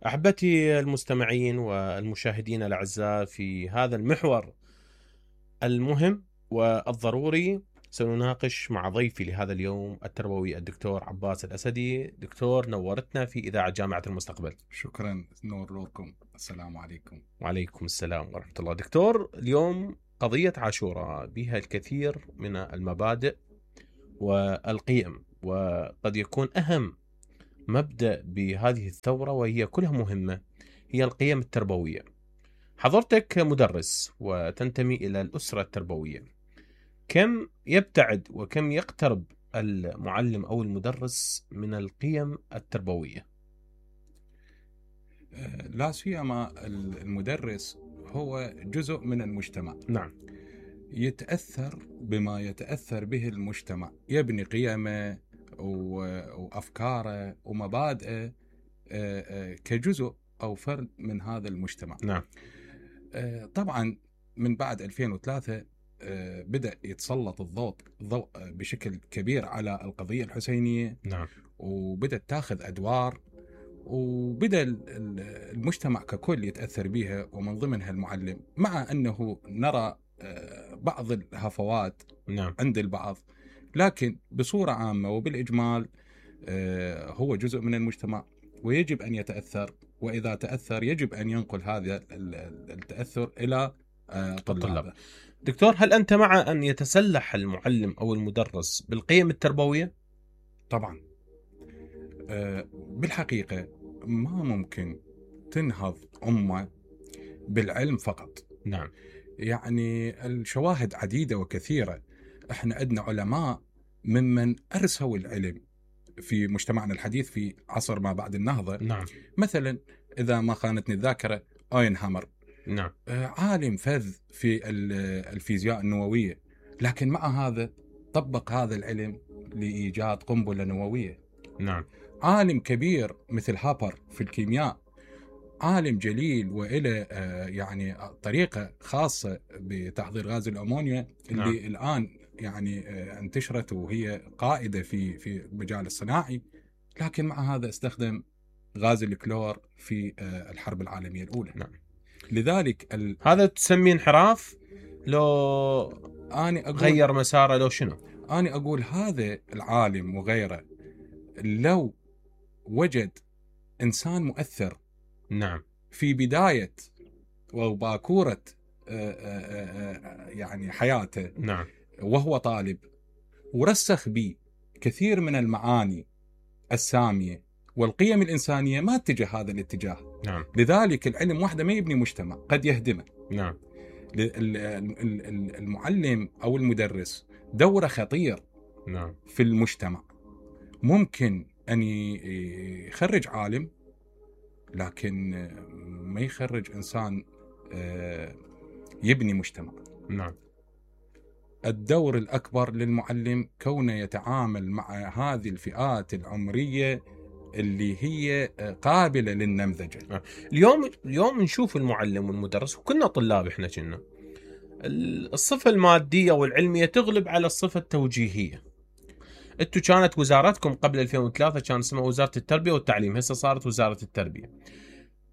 أحبتي المستمعين والمشاهدين الأعزاء، في هذا المحور المهم والضروري سنناقش مع ضيفي لهذا اليوم التربوي الدكتور عباس الأسدي. دكتور، نورتنا في إذاعة جامعة المستقبل. شكرا، نور لكم. السلام عليكم. وعليكم السلام ورحمة الله. دكتور، اليوم قضية عاشوراء بها الكثير من المبادئ والقيم، وقد يكون أهم مبدأ بهذه الثورة وهي كلها مهمة هي القيم التربوية. حضرتك مدرس وتنتمي إلى الأسرة التربوية، كم يبتعد وكم يقترب المعلم أو المدرس من القيم التربوية؟ لا سيما المدرس هو جزء من المجتمع. نعم. يتأثر بما يتأثر به المجتمع، يبني قيمه وأفكاره ومبادئه كجزء أو فرد من هذا المجتمع. نعم. طبعا من بعد 2003 بدأ يتسلط الضوء بشكل كبير على القضية الحسينية. نعم. وبدأت تاخذ أدوار، وبدأ المجتمع ككل يتأثر بها، ومن ضمنها المعلم، مع أنه نرى بعض الهفوات نعم. عند البعض، لكن بصورة عامة وبالإجمال هو جزء من المجتمع ويجب أن يتأثر، وإذا تأثر يجب أن ينقل هذا التأثر إلى طلابه. دكتور، هل أنت مع أن يتسلح المعلم أو المدرس بالقيم التربوية؟ طبعا. بالحقيقة ما ممكن تنهض أمة بالعلم فقط. نعم. يعني الشواهد عديدة وكثيرة. احنا عندنا علماء ممن أرسوا العلم في مجتمعنا الحديث في عصر ما بعد النهضة. نعم. مثلا إذا ما خانتني الذاكرة، أوينهامر. نعم. عالم فذ في الفيزياء النووية، لكن مع هذا طبق هذا العلم لإيجاد قنبلة نووية. نعم. عالم كبير مثل هابر في الكيمياء، عالم جليل وإلى يعني طريقة خاصة بتحضير غاز الأمونيا اللي نعم. الآن يعني انتشرت وهي قائدة في المجال الصناعي، لكن مع هذا استخدم غاز الكلور في الحرب العالمية الأولى. نعم. لذلك هذا تسميه انحراف؟ لو أنا غير مساره لو شنو؟ أنا أقول هذا العالم وغيره لو وجد إنسان مؤثر، نعم، في بداية وباكورة يعني حياته، نعم، وهو طالب، ورسخ به كثير من المعاني السامية والقيم الإنسانية، ما اتجه هذا الاتجاه. نعم. لذلك العلم وحده ما يبني مجتمع، قد يهدمه. نعم. المعلم أو المدرس دوره خطير. نعم. في المجتمع ممكن أن يخرج عالم، لكن ما يخرج إنسان يبني مجتمع. نعم. الدور الأكبر للمعلم كونه يتعامل مع هذه الفئات العمرية اللي هي قابلة للنمذجة. اليوم نشوف المعلم والمدرس، وكنا طلاب احنا كنا الصفة المادية والعلمية تغلب على الصفة التوجيهية. انتو كانت وزارتكم قبل 2003 كان اسمها وزارة التربية والتعليم، هسه صارت وزارة التربية.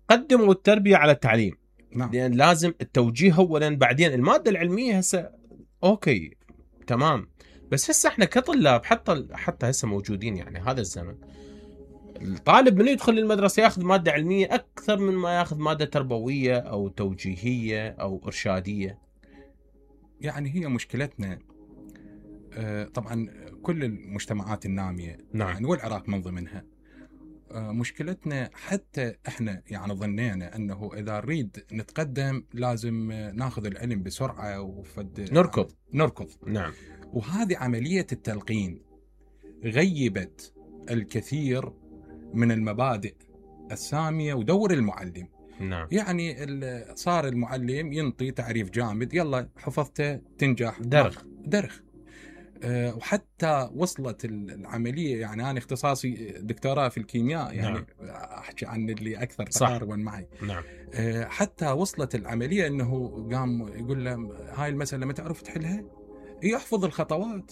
قدموا التربية على التعليم. نعم. لأن لازم التوجيه أولا، بعدين المادة العلمية. هسه أوكي تمام، بس هسه احنا كطلاب حتى هسه موجودين، يعني هذا الزمن الطالب من يدخل المدرسة ياخذ مادة علمية أكثر من ما ياخذ مادة تربوية أو توجيهية أو إرشادية. يعني هي مشكلتنا طبعا كل المجتمعات النامية، نعم. يعني والعراق من ضمنها. مشكلتنا حتى احنا يعني ظنينا انه اذا نريد نتقدم لازم ناخذ العلم بسرعة نركض. نعم. وهذه عملية التلقين غيبت الكثير من المبادئ السامية ودور المعلم. نعم. يعني صار المعلم ينطي تعريف جامد، يلا حفظته تنجح، درخ. وحتى وصلت العملية، يعني أنا اختصاصي دكتوراه في الكيمياء، يعني نعم. أحكي عن اللي أكثر تقاربا معي. نعم. حتى وصلت العملية أنه قام يقول له هاي المسألة ما تعرف تحلها، يحفظ الخطوات.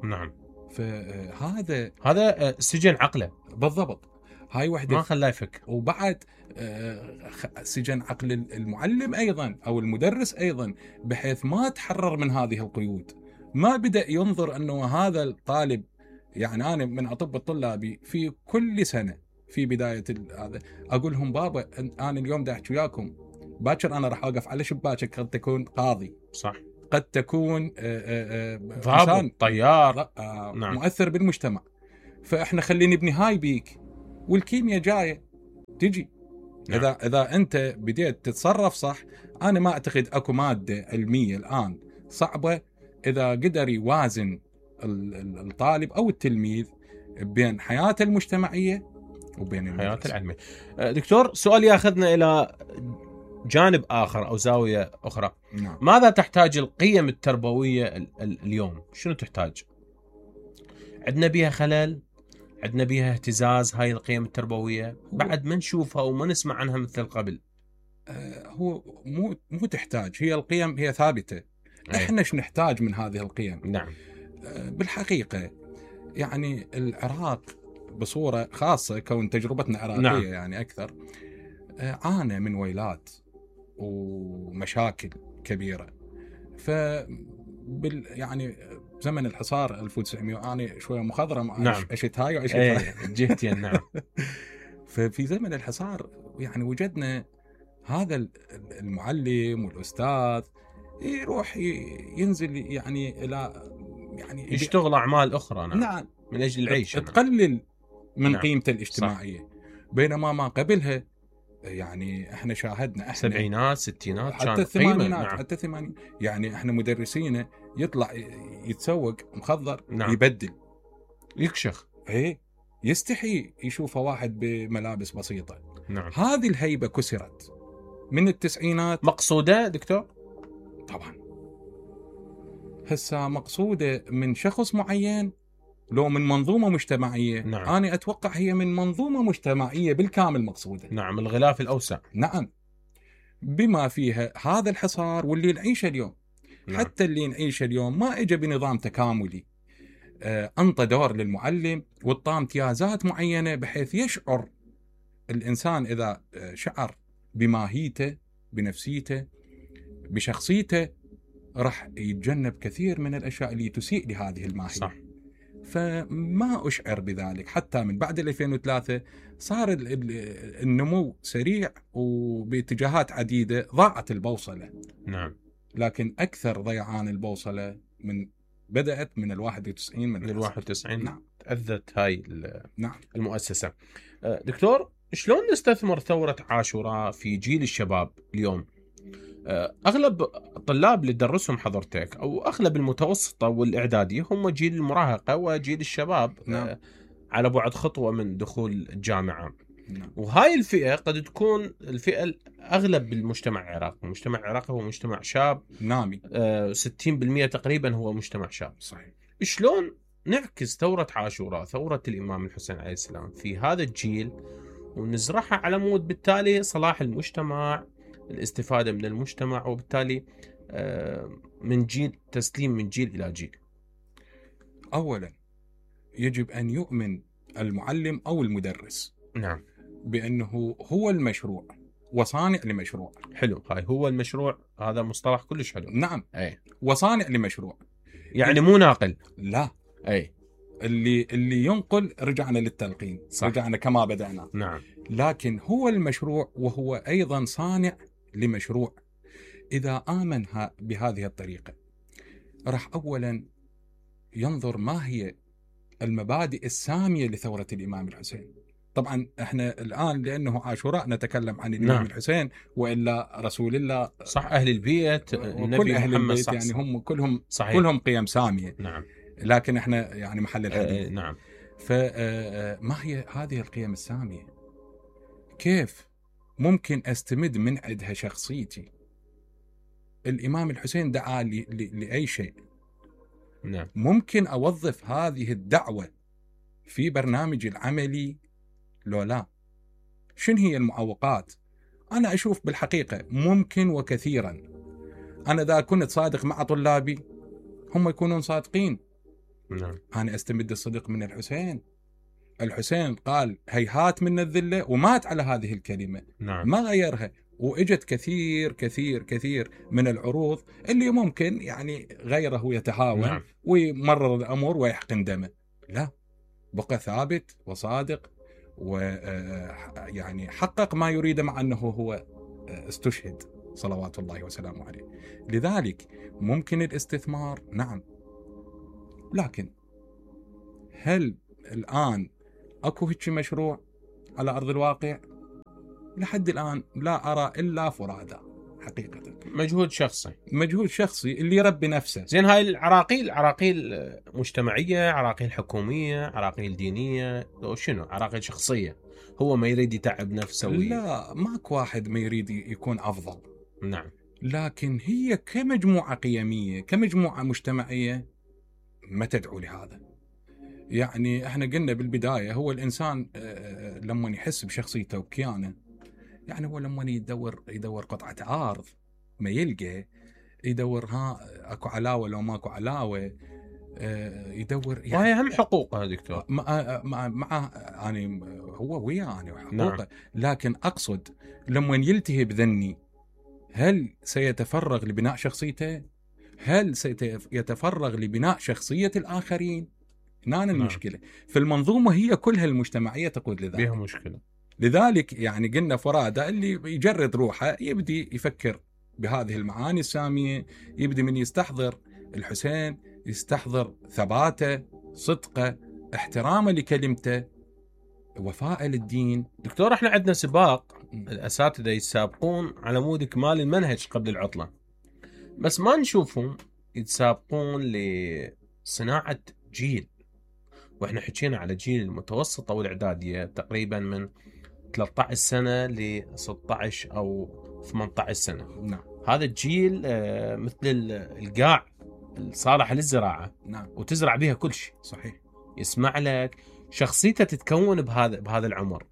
نعم. فهذا سجن عقله. بالضبط. هاي وحده ما خلاه يفكر. وبعد سجن عقل المعلم أيضا أو المدرس أيضا، بحيث ما تحرر من هذه القيود. ما بدأ ينظر أنه هذا الطالب، يعني أنا من أطب طلابي في كل سنة في بداية هذا أقول لهم بابا أنا اليوم دا أحكي وياكم، باكر أنا راح أوقف على شباكك، قد تكون قاضي، صح، قد تكون ضابط، طيار، نعم. مؤثر بالمجتمع. فإحنا خلينا نبني هاي بيك، والكيمياء جاية تجي. نعم. إذا أنت بديت تتصرف صح، أنا ما أعتقد أكو مادة علمية الآن صعبة إذا قدر يوازن الطالب أو التلميذ بين حياته المجتمعية وبين حياته العلمية. دكتور، سؤال ياخذنا إلى جانب آخر أو زاوية أخرى. نعم. ماذا تحتاج القيم التربوية اليوم؟ شنو تحتاج؟ عندنا بيها خلل، عندنا بيها اهتزاز هاي القيم التربوية، بعد ما نشوفها وما نسمع عنها مثل قبل. هو مو تحتاج، هي القيم هي ثابتة. احنا ايش نحتاج من هذه القيم؟ نعم. بالحقيقة يعني العراق بصورة خاصة، كون تجربتنا عراقية نعم. يعني أكثر، عانى من ويلات ومشاكل كبيرة. يعني زمن الحصار 1900 أنا شوية مخضرم. نعم. أشت هاي وأشت هاي جهتين. نعم. ففي زمن الحصار يعني وجدنا هذا المعلم والأستاذ يروح ينزل يعني إلى يعني يشتغل أعمال أخرى. نعم. نعم. من أجل العيش. تقلل من نعم. قيمته الاجتماعية. صح. بينما ما قبلها يعني احنا شاهدنا السبعينات ستينات حتى الثمانينات. نعم. حتى الثمانينات يعني احنا مدرسين يطلع يتسوق مخضر. نعم. يبدل يكشخ، يستحي يشوفه واحد بملابس بسيطة. نعم. هذه الهيبة كسرت من التسعينات. مقصودة دكتور؟ طبعا هسه مقصودة من شخص معين لو من منظومة مجتمعية. نعم. أنا أتوقع هي من منظومة مجتمعية بالكامل مقصودة. نعم، الغلاف الأوسع. نعم، بما فيها هذا الحصار واللي نعيشه اليوم. نعم. حتى اللي نعيشه اليوم ما إجا بنظام تكاملي. أنطى دور للمعلم وطام امتيازات معينة بحيث يشعر الإنسان، إذا شعر بماهيته بنفسيته بشخصيته، راح يتجنب كثير من الأشياء اللي تسيء لهذه الماهية. صح. فما أشعر بذلك. حتى من بعد 2003 صار النمو سريع وباتجاهات عديدة، ضاعت البوصلة. نعم. لكن أكثر ضيعان البوصلة بدأت من 91. من 91. نعم. تأذت هاي نعم. المؤسسة. دكتور، شلون نستثمر ثورة عاشوراء في جيل الشباب اليوم؟ أغلب الطلاب اللي درسهم حضرتك أو أغلب المتوسطة والإعدادية هم جيل المراهقة وجيل الشباب. نعم. على بعد خطوة من دخول الجامعة. نعم. وهاي الفئة قد تكون الفئة الأغلب بالمجتمع العراقي. المجتمع العراقي هو مجتمع شاب نامي. 60% تقريبا هو مجتمع شاب. صحيح. شلون نعكس ثورة عاشوراء، ثورة الإمام الحسين عليه السلام، في هذا الجيل ونزرعها على مود بالتالي صلاح المجتمع، الاستفادة من المجتمع، وبالتالي من جيل تسليم من جيل إلى جيل؟ أولا يجب أن يؤمن المعلم أو المدرس. نعم. بأنه هو المشروع وصانع لمشروع. حلو، هاي هو المشروع، هذا مصطلح كلش حلو. نعم. وصانع لمشروع يعني مو ناقل. لا. اللي ينقل رجعنا للتلقين. صح. رجعنا كما بدأنا. نعم. لكن هو المشروع وهو أيضا صانع لمشروع. إذا آمن بهذه الطريقة راح أولا ينظر ما هي المبادئ السامية لثورة الإمام الحسين. طبعا احنا الآن لأنه عاشوراء نتكلم عن الإمام. نعم. الحسين، وإلا رسول الله. صح. أهل البيت، النبي أهل محمد. البيت. صح. يعني هم كلهم. صحيح. كلهم قيم سامية. نعم. لكن احنا يعني محل الحديث. نعم. فما هي هذه القيم السامية؟ كيف ممكن أستمد من عندها شخصيتي؟ الإمام الحسين دعا لأي شيء. نعم. ممكن أوظف هذه الدعوة في برنامجي العملي لو لا؟ شن هي المعوقات؟ أنا أشوف بالحقيقة ممكن وكثيرا. أنا إذا كنت صادق مع طلابي هم يكونون صادقين. نعم. أنا أستمد الصدق من الحسين، الحسين قال هيهات من الذلة ومات على هذه الكلمة. نعم. ما غيرها. وإجت كثير كثير كثير من العروض اللي ممكن يعني غيره يتهاون. نعم. ويمرر الأمور ويحقن دمه. لا، بقى ثابت وصادق ويعني حقق ما يريده، مع أنه هو استشهد صلوات الله وسلامه عليه. لذلك ممكن الاستثمار، نعم، لكن هل الآن أكو هيك مشروع على أرض الواقع؟ لحد الآن لا أرى إلا فرادى حقيقة. مجهود شخصي اللي يربي نفسه. زين، هاي العراقيل مجتمعية، عراقيل حكومية، عراقيل دينية، شنو عراقيل شخصية؟ هو ما يريد يتعب نفسه لا، ماكو واحد ما يريد يكون أفضل. نعم. لكن هي كمجموعة قيمية، كمجموعة مجتمعية، ما تدعو لهذا. يعني احنا قلنا بالبداية، هو الإنسان لما يحس بشخصيته وكيانه، يعني هو لما يدور قطعة أرض ما يلقى، يدور اكو علاوة لو ماكو علاوة، يدور يعني. وهي هم حقوقه دكتور. مع يعني هو وياه يعني حقوقه. نعم. لكن أقصد لما يلتهي بذني، هل سيتفرغ لبناء شخصيته؟ هل سيتفرغ لبناء شخصية الآخرين؟ هنا المشكلة. في المنظومة هي كلها المجتمعية تقود لذلك. بها مشكلة. لذلك يعني قلنا فرادى اللي يجرد روحه يبدي يفكر بهذه المعاني السامية، يبدي من يستحضر الحسين، يستحضر ثباته، صدقه، احترامه لكلمته، وفاء للدين. دكتور، احنا عندنا سباق، الأساتذة يتسابقون على مود إكمال المنهج قبل العطلة، بس ما نشوفهم يتسابقون لصناعة جيل. واحنا حكينا على جيل المتوسطة والإعدادية تقريبا من 13 سنة ل 16 أو 18 سنة. نعم. هذا الجيل مثل القاع الصالح للزراعة. نعم. وتزرع بها كل شيء. صحيح. يسمع لك، شخصيته تتكون بهذا العمر،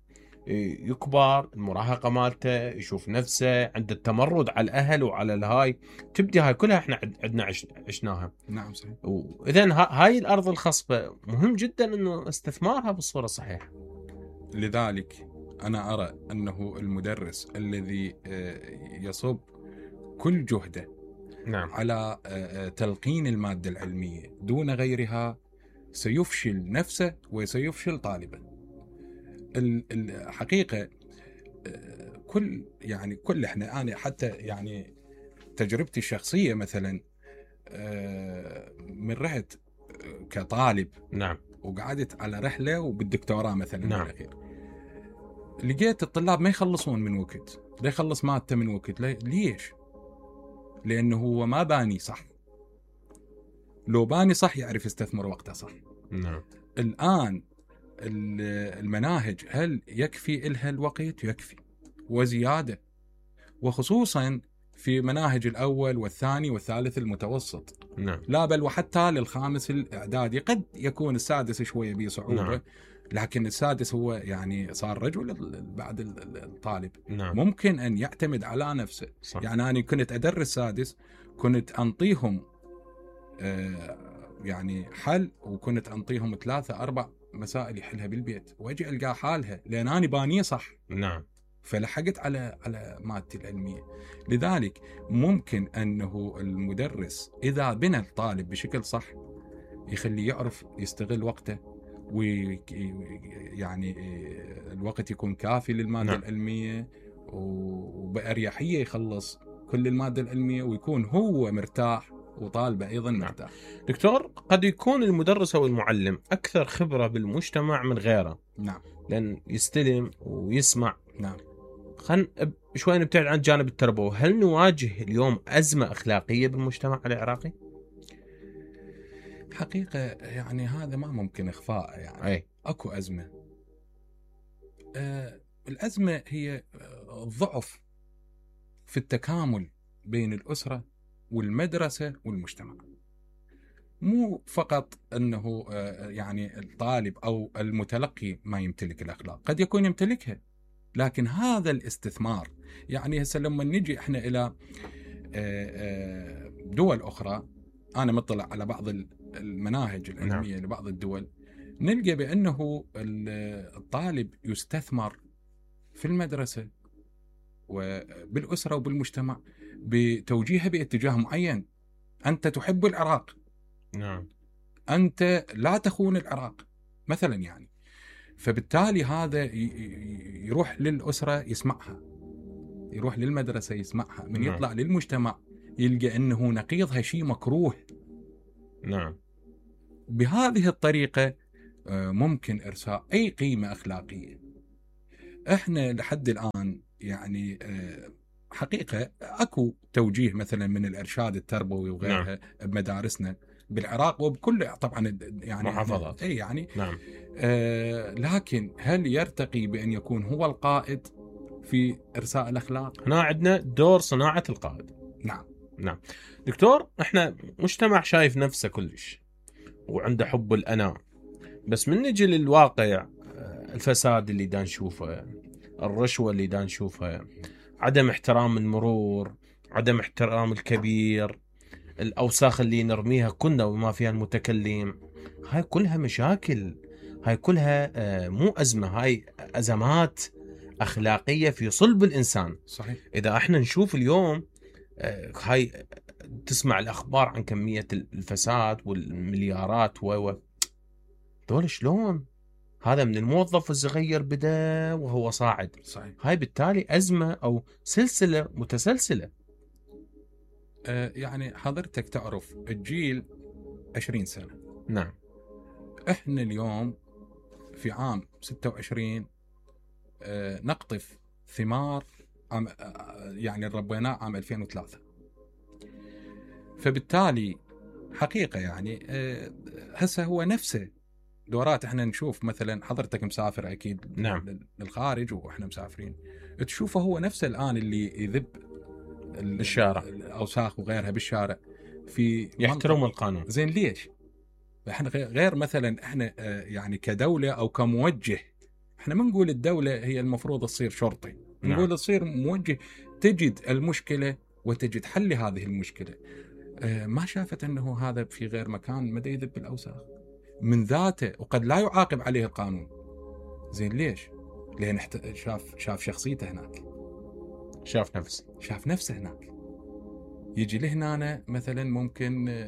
يكبر، المراهقة مالته، يشوف نفسه، عنده التمرد على الأهل وعلى الهاي، تبدي هاي كلها احنا عندنا عشناها. نعم صحيح. وإذن هاي الأرض الخصبة مهم جدا إنه استثمارها بالصورة الصحيحة. لذلك أنا أرى أنه المدرس الذي يصب كل جهده نعم. على تلقين المادة العلمية دون غيرها سيفشل نفسه وسيفشل طالبا. الحقيقة كل احنا، أنا حتى يعني تجربتي الشخصية مثلا، من رحت كطالب. نعم. وقعدت على رحلة وبالدكتوراه مثلا. نعم. بالأخير لقيت الطلاب ما يخلصون من وقت، لا يخلص مادته من وقت. ليش؟ لأنه هو ما باني صح. لو باني صح يعرف يستثمر وقته صح. نعم. الآن المناهج هل يكفي إلها الوقت؟ يكفي وزيادة، وخصوصا في مناهج الأول والثاني والثالث المتوسط. نعم. لا بل وحتى للخامس الإعدادي. قد يكون السادس شوية بصعوبة. نعم. لكن السادس هو يعني صار رجل بعد الطالب. نعم. ممكن أن يعتمد على نفسه. صح. يعني أنا كنت أدرس سادس، كنت أنطيهم يعني حل، وكنت أنطيهم 3-4 مسائل يحلها بالبيت، وأجي ألقى حالها لأن أنا بانية صح. نعم. فلحقت على مادتي العلمية. لذلك ممكن أنه المدرس إذا بنى الطالب بشكل صح يخليه يعرف يستغل وقته، ويعني الوقت يكون كافي للمادة العلمية، وبأريحية يخلص كل المادة العلمية، ويكون هو مرتاح وطالبه أيضا مرتاح. دكتور، قد يكون المدرس أو المعلم أكثر خبرة بالمجتمع من غيره. نعم. لأن يستلم ويسمع. نعم. خلينا شوي نبتعد عن الجانب التربوي. هل نواجه اليوم أزمة أخلاقية بالمجتمع العراقي؟ حقيقة يعني هذا ما ممكن إخفاء. يعني أكو أزمة. الأزمة هي الضعف في التكامل بين الأسرة والمدرسة والمجتمع. مو فقط أنه يعني الطالب أو المتلقي ما يمتلك الأخلاق، قد يكون يمتلكها، لكن هذا الاستثمار. يعني هسه لما نجي احنا إلى دول أخرى، أنا مطلع على بعض المناهج العلمية. نعم. لبعض الدول نلقى بأنه الطالب يستثمر في المدرسة وبالأسرة وبالمجتمع بتوجيهه باتجاه معين. أنت تحب العراق، نعم، أنت لا تخون العراق مثلا يعني. فبالتالي هذا يروح للأسرة يسمعها، يروح للمدرسة يسمعها، من نعم. يطلع للمجتمع يلقى أنه نقيضها شيء مكروه. نعم. بهذه الطريقة ممكن إرساء أي قيمة أخلاقية. إحنا لحد الآن يعني حقيقة أكو توجيه مثلا من الإرشاد التربوي وغيرها نعم. بمدارسنا بالعراق وبكل طبعا يعني محافظات. أي يعني نعم. لكن هل يرتقي بأن يكون هو القائد في إرساء الأخلاق؟ هنا عندنا دور صناعة القائد. نعم. نعم دكتور، احنا مجتمع شايف نفسه كلش وعنده حب الأنا، بس من نجي للواقع الفساد اللي دا نشوفه، الرشوة اللي دا نشوفها، عدم احترام المرور، عدم احترام الكبير، الأوساخ اللي نرميها كنا وما فيها المتكلم، هاي كلها مشاكل، هاي كلها مو أزمة، هاي أزمات أخلاقية في صلب الإنسان. صحيح. إذا احنا نشوف اليوم هاي تسمع الأخبار عن كمية الفساد والمليارات دول شلون؟ هذا من الموظف الصغير بدأ وهو صاعد. صحيح. هاي بالتالي أزمة أو سلسلة متسلسلة. يعني حضرتك تعرف الجيل 20 سنة. نعم. احنا اليوم في عام 26 نقطف ثمار يعني ربيناه عام 2003. فبالتالي حقيقة يعني هسه هو نفسه دورات. احنا نشوف مثلا حضرتك مسافر اكيد نعم. للخارج واحنا مسافرين، تشوفه هو نفسه الان اللي يذب بالشارع الاوساخ وغيرها بالشارع في يحترم القانون. زين ليش؟ احنا غير مثلا احنا يعني كدولة او كموجه، احنا ما نقول الدولة هي المفروض تصير شرطي، نقول تصير موجه، تجد المشكلة وتجد حل لهذه المشكلة. ما شافت انه هذا في غير مكان مدى يذب الاوساخ من ذاته وقد لا يعاقب عليه القانون. زين ليش؟ لأن شاف شخصيته هناك، شاف نفسه هناك. يجي لهنا مثلا ممكن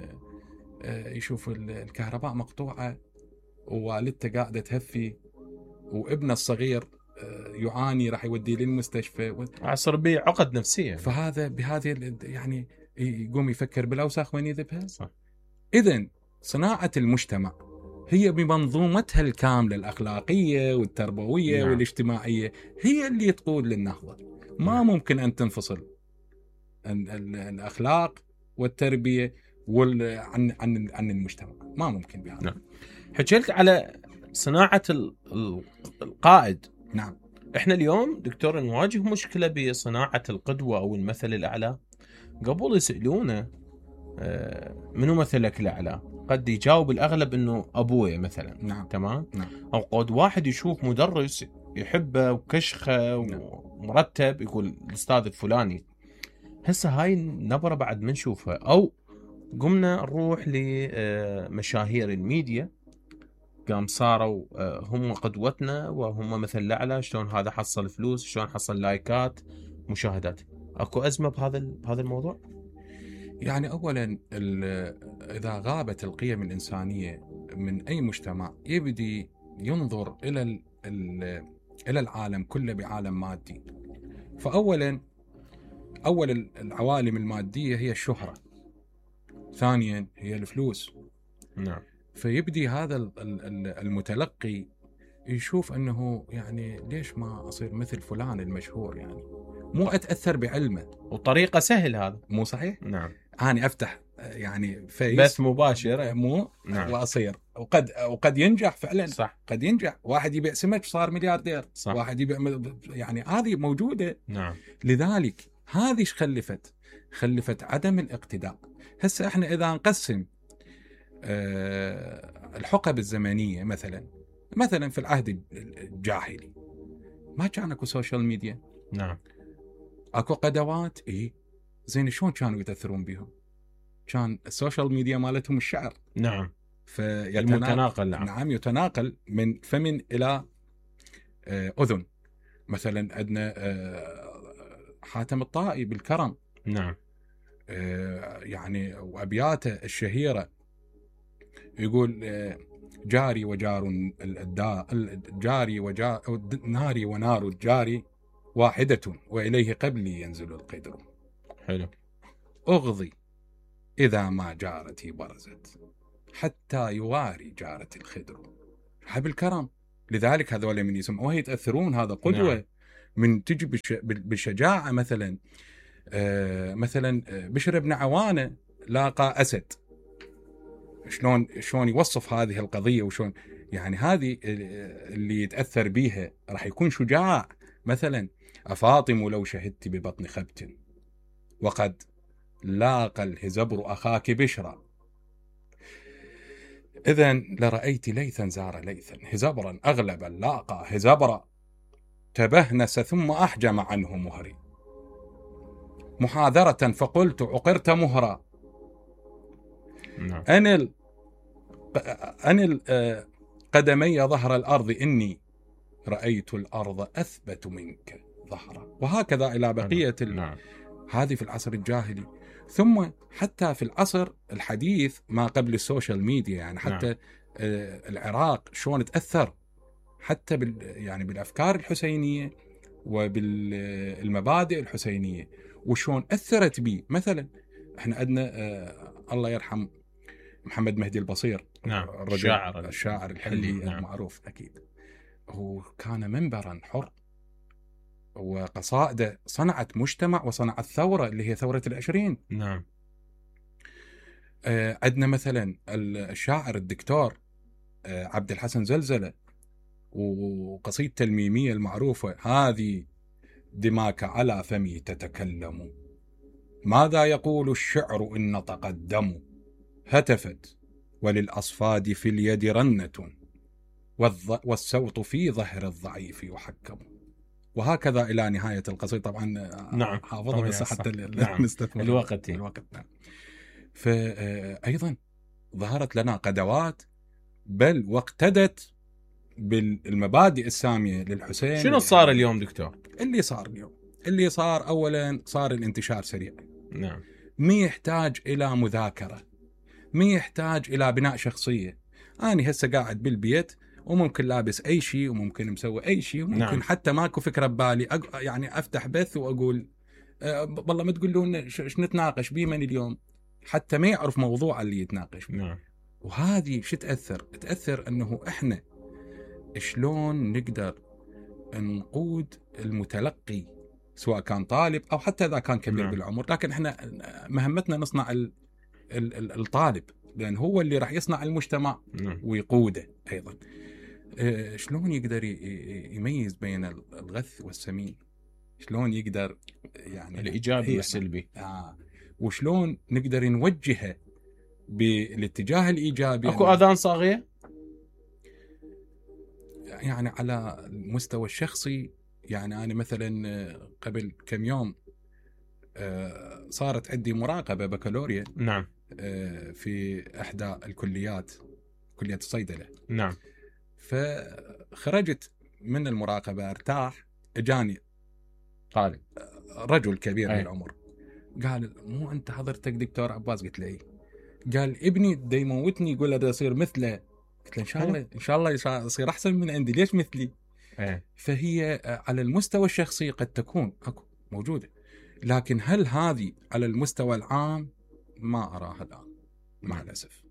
يشوف الكهرباء مقطوعة ووالدته قاعدة تهفي وابنه الصغير يعاني، راح يوديه للمستشفى، عصر بيه عقد نفسية. فهذا بهذه يعني يقوم يفكر بالأوساخ وين يذبها. صح. إذن صناعة المجتمع هي بمنظومتها الكاملة الأخلاقية والتربوية نعم. والاجتماعية هي اللي تقود للنهضة. ما نعم. ممكن أن تنفصل الأخلاق والتربية عن المجتمع، ما ممكن بهذا. نعم. حكيت على صناعة القائد. نعم. احنا اليوم دكتور نواجه مشكلة بصناعة القدوة أو المثل الأعلى. قبل يسألونه منو مثلك الأعلى، قد يجاوب الأغلب إنه أبوي مثلا. نعم. تمام. نعم. أو قد واحد يشوف مدرس يحبه وكشخه نعم. ومرتب يقول الأستاذ الفلاني. هسه هاي النبرة بعد ما نشوفها، أو قمنا نروح لمشاهير الميديا، قام صاروا هم قدوتنا وهم مثل الأعلى، شلون هذا حصل فلوس، شلون حصل لايكات، مشاهدات. أكو أزمة بهذا الموضوع؟ يعني أولا إذا غابت القيم الإنسانية من أي مجتمع يبدي ينظر إلى العالم كله بعالم مادي. فأولا العوالم المادية هي الشهرة، ثانيا هي الفلوس. نعم. فيبدي هذا المتلقي يشوف أنه يعني ليش ما أصير مثل فلان المشهور، يعني مو أتأثر بعلمه وطريقة سهل هذا، مو صحيح؟ نعم. أنا أفتح يعني فيس بث مباشر مو نعم. وأصير وقد ينجح فعلا. صح. قد ينجح، واحد يبيع سمك صار ملياردير. صح. واحد يبيع، يعني هذه موجودة. نعم. لذلك هذه ايش خلفت عدم الاقتداء. هسه احنا اذا نقسم الحقب الزمنية مثلا في العهد الجاهلي ما كان اكو سوشيال ميديا. نعم. اكو قدوات زين شلون كانوا يتأثرون بهم؟ كان السوشيال ميديا مالتهم الشعر. نعم. المتناقل. نعم يتناقل من فم إلى أذن. مثلا عندنا حاتم الطائي بالكرم. نعم. يعني وأبياته الشهيرة يقول جاري وجار جاري ناري ونار الجاري واحدة وإليه قبلي ينزل القدر. حلو. أغضي إذا ما جارتي برزت حتى يواري جارة الخدر. حب الكرم. لذلك هذول من يسمعوه يتأثرون. هذا قدوة. نعم. من تجي بالشجاعة مثلا مثلا بشر بن عوانة لاقى أسد، شلون يوصف هذه القضية وشلون يعني هذه اللي يتأثر بيها راح يكون شجاع. مثلا أفاطم لو شهدت ببطن خبت وقد لاقى الهزبر أخاك بشرا إذن لرأيت ليثا زار ليثا هزبرا أغلب لاقى هزبرا تبهنس ثم أحجم عنه مهري محاذرة فقلت عقرت مهرا. أنل قدمي ظهر الأرض إني رأيت الأرض أثبت منك ظهرا. وهكذا إلى بقية هذه في العصر الجاهلي. ثم حتى في العصر الحديث ما قبل السوشيال ميديا يعني حتى العراق شلون تأثر حتى يعني بالأفكار الحسينية وبالمبادئ الحسينية وشلون أثرت به. مثلا احنا عندنا الله يرحم محمد مهدي البصير. نعم. الشاعر الحلي المعروف. أكيد هو كان منبرا حر وقصائده صنعت مجتمع وصنعت ثورة اللي هي ثورة 20. نعم. عندنا مثلا الشاعر الدكتور عبد الحسن زلزلة وقصيدته الميمية المعروفة هذه دماك على فمي تتكلم ماذا يقول الشعر إن نطق الدم هتفت وللأصفاد في اليد رنة والصوت في ظهر الضعيف يحكم. وهكذا إلى نهاية القصيدة. طبعا نعم. حافظها بس حتى نستثمر الوقت. نعم. فأيضا ظهرت لنا قدوات بل واقتدت بالمبادئ السامية للحسين. شنو صار اليوم دكتور؟ اللي صار أولا صار الانتشار سريع. نعم. ما يحتاج إلى مذاكرة، ما يحتاج إلى بناء شخصية. أنا هسه قاعد بالبيت وممكن لابس أي شيء وممكن مسوي أي شيء وممكن نعم. حتى ماكو فكرة ببالي يعني أفتح بث وأقول والله ما تقولون إيش نتناقش بيه من اليوم حتى ما يعرف موضوع اللي يتناقش بيه. نعم. وهذه شو تأثر أنه إحنا شلون نقدر نقود المتلقي سواء كان طالب أو حتى إذا كان كبير نعم. بالعمر. لكن إحنا مهمتنا نصنع الطالب لأن هو اللي راح يصنع المجتمع نعم. ويقوده أيضا. شلون يقدر يميز بين الغث والسمين، شلون يقدر يعني الإيجابي والسلبي، وشلون نقدر نوجهه بالاتجاه الإيجابي. أكو أذان صاغية يعني على المستوى الشخصي. يعني أنا مثلا قبل كم يوم صارت عندي مراقبة بكالوريا نعم في إحدى الكليات، كلية الصيدلة. نعم. فخرجت من المراقبة ارتاح، اجاني طالب رجل كبير بالعمر قال مو أنت حضرتك دكتور عباس؟ قلت له إيه. قال ابني دا يموتني يقول له دا يصير مثله. قلت له إن شاء الله يصير أحسن من عندي، ليش مثلي؟ فهي على المستوى الشخصي قد تكون أكو موجودة، لكن هل هذه على المستوى العام ما أراها الآن مع الأسف.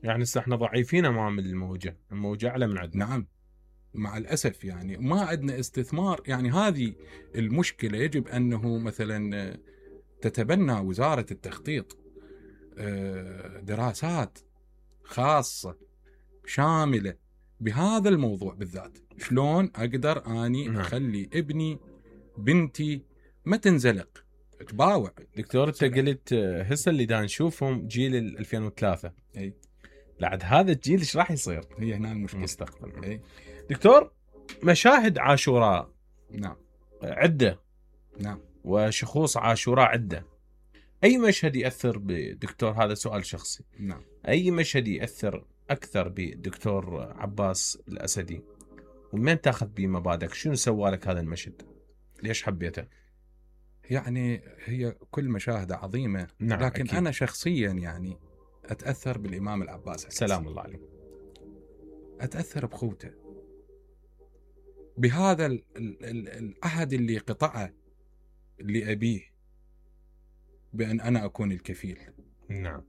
يعني احنا ضعيفين أمام الموجة أعلى من عندنا. نعم مع الأسف. يعني ما عندنا استثمار. يعني هذه المشكلة يجب أنه مثلا تتبنى وزارة التخطيط دراسات خاصة شاملة بهذا الموضوع بالذات. شلون أقدر أني أخلي ابني بنتي ما تنزلق تباوع. دكتور أنت قلت هسه اللي دا نشوفهم جيل 2003 أي بعد هذا الجيل إيش راح يصير؟ هي هنا المشكلة. مستقبل. دكتور مشاهد عاشوراء نعم عدة. نعم. وشخوص عاشوراء عدة. أي مشهد يأثر بدكتور؟ هذا سؤال شخصي. نعم. اي مشهد ياثر اكثر بالدكتور عباس الاسدي، ومن تاخذ بمبادئك؟ شنو سوالك هذا المشهد؟ ليش حبيته؟ يعني هي كل مشاهدة عظيمة. نعم لكن أكيد. أنا شخصيا يعني أتأثر بالإمام العباس سلام الله عليه. أتأثر بخوته، بهذا العهد اللي قطعه لأبيه بأن أنا أكون الكفيل. نعم.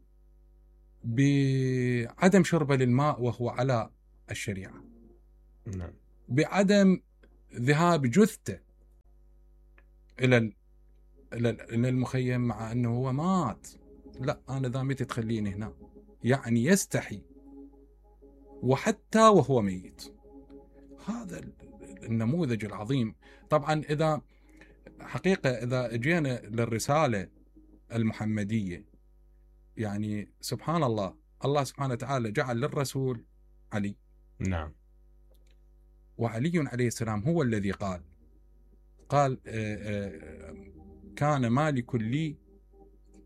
بعدم شربه للماء وهو على الشريعة. نعم. بعدم ذهاب جثته إلى المخيم مع أنه هو مات. لا، أنا ذا متى تخليني هنا؟ يعني يستحي وحتى وهو ميت. هذا النموذج العظيم. طبعا إذا حقيقة إذا جينا للرسالة المحمدية، يعني سبحان الله، الله سبحانه وتعالى جعل للرسول علي. نعم. وعلي عليه السلام هو الذي قال كان مالك لي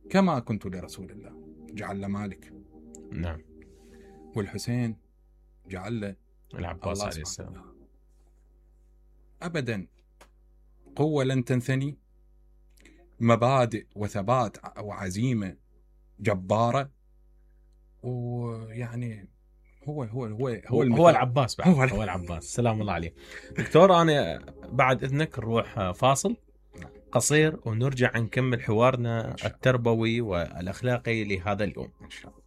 كما كنت لرسول الله، جعل له مالك. نعم. والحسين جعل له العباس عليه السلام. أبدا قوة لن تنثني، مبادئ وثبات وعزيمة جبارة. ويعني هو العباس بعد. هو العباس. سلام الله عليه. دكتور، أنا بعد إذنك نروح فاصل قصير ونرجع نكمل حوارنا التربوي والأخلاقي لهذا اليوم إن شاء الله.